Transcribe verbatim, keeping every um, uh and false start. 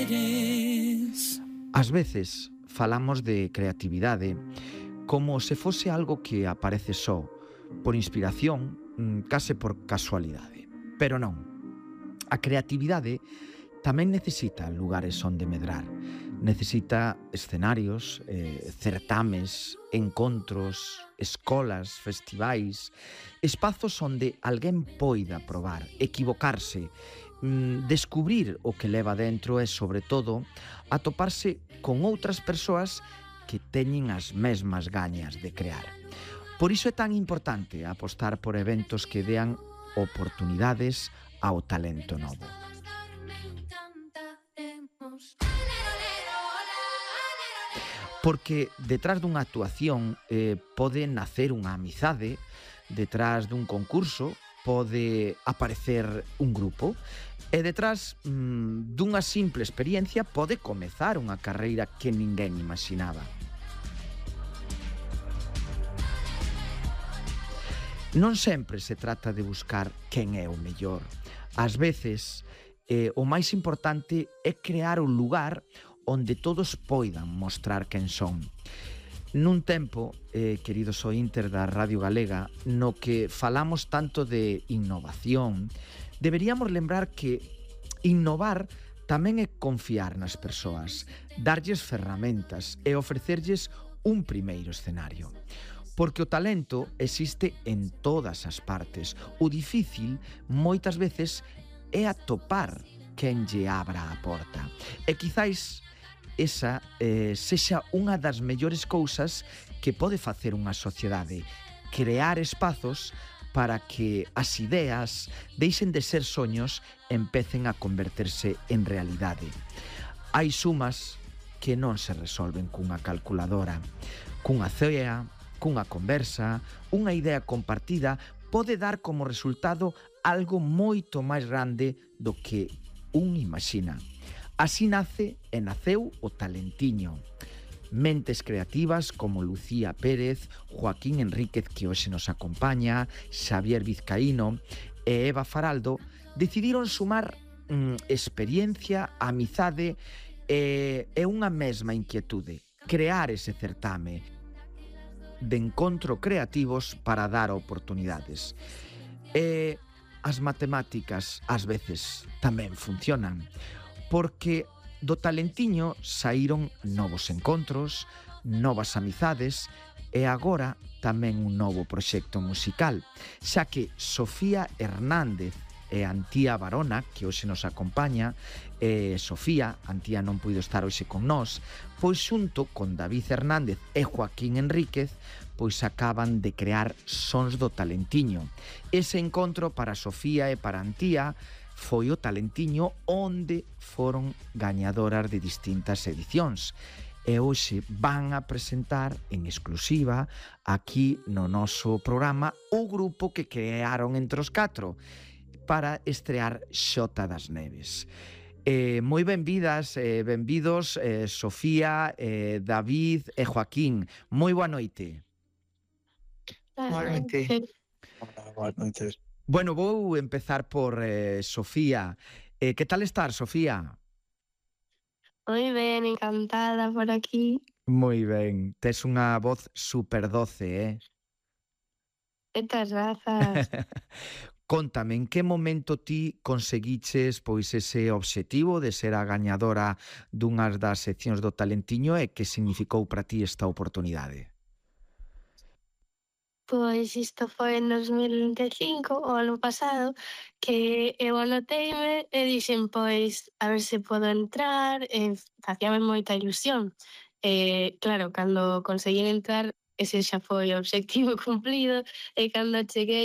eres. Ás veces falamos de creatividade como se fose algo que aparece só, por inspiración, case por casualidade. Pero non. A creatividade tamén necesita lugares onde medrar. Necesita escenarios, eh, certames, encontros, escolas, festivais, espazos onde alguén poida probar, equivocarse, mm, descubrir o que leva dentro e, sobre todo, atoparse con outras persoas que teñen as mesmas gañas de crear. Por iso é tan importante apostar por eventos que dean oportunidades ao talento novo. Porque detrás dunha actuación eh, pode nacer unha amizade, detrás dun concurso pode aparecer un grupo e detrás mm, dunha simple experiencia pode comezar unha carreira que ninguén imaginaba. Non sempre se trata de buscar quen é o mellor. Ás veces, eh, o máis importante é crear un lugar onde todos poidan mostrar quen son. Nun tempo, eh, queridos ointer da Radio Galega, no que falamos tanto de innovación, deberíamos lembrar que innovar tamén é confiar nas persoas, darlles ferramentas e ofrecerlles un primeiro escenario. Porque o talento existe en todas as partes. O difícil, moitas veces, é atopar quen lle abra a porta. E quizáis esa eh, sexa unha das mellores cousas que pode facer unha sociedade. Crear espazos para que as ideas deixen de ser soños e empecen a converterse en realidade. Hai sumas que non se resolven cunha calculadora, cunha cea, cunha conversa, unha idea compartida pode dar como resultado algo moito máis grande do que un imagina. Así nace e naceu o talentiño. Mentes creativas como Lucía Pérez, Joaquín Enríquez, que hoxe nos acompaña, Xavier Vizcaíno e Eva Faraldo decidiron sumar mm, experiencia, amizade e, e unha mesma inquietude: crear ese certame de encontro creativos para dar oportunidades. E as matemáticas ás veces tamén funcionan, porque do talentiño saíron novos encontros, novas amizades e agora tamén un novo proxecto musical, xa que Sofía Hernández e Antía Barona, que hoxe nos acompaña, e Sofía, Antía non puido estar hoxe con nós, pois xunto con David Hernández e Joaquín Enríquez, pois acaban de crear Sons do Talentiño. Ese encontro para Sofía e para Antía foi o Talentiño onde foron gañadoras de distintas edicións. E hoxe van a presentar en exclusiva aquí no noso programa o grupo que crearon entre os catro para estrear Xota das Neves. Eh, moi benvidas e eh, benvidos eh, Sofía, eh, David e Joaquín. Moi boa noite. Boa noite. Boa noite. Bueno, vou empezar por eh, Sofía. Eh, que tal estar, Sofía? Moi ben, encantada por aquí. Moi ben. Tes unha voz super doce, eh? Estas razas. Conta-me, en que momento ti conseguiches pois ese obxectivo de ser a gañadora dunhas das seccións do Talentiño e que significou para ti esta oportunidade? Pois isto foi en dos mil vinte e cinco, o ano pasado, que eu anoteime e dixen, pois, a ver se podo entrar, e facíame moita ilusión. E, claro, cando conseguín entrar, ese xa foi o obxectivo cumplido, e cando cheguei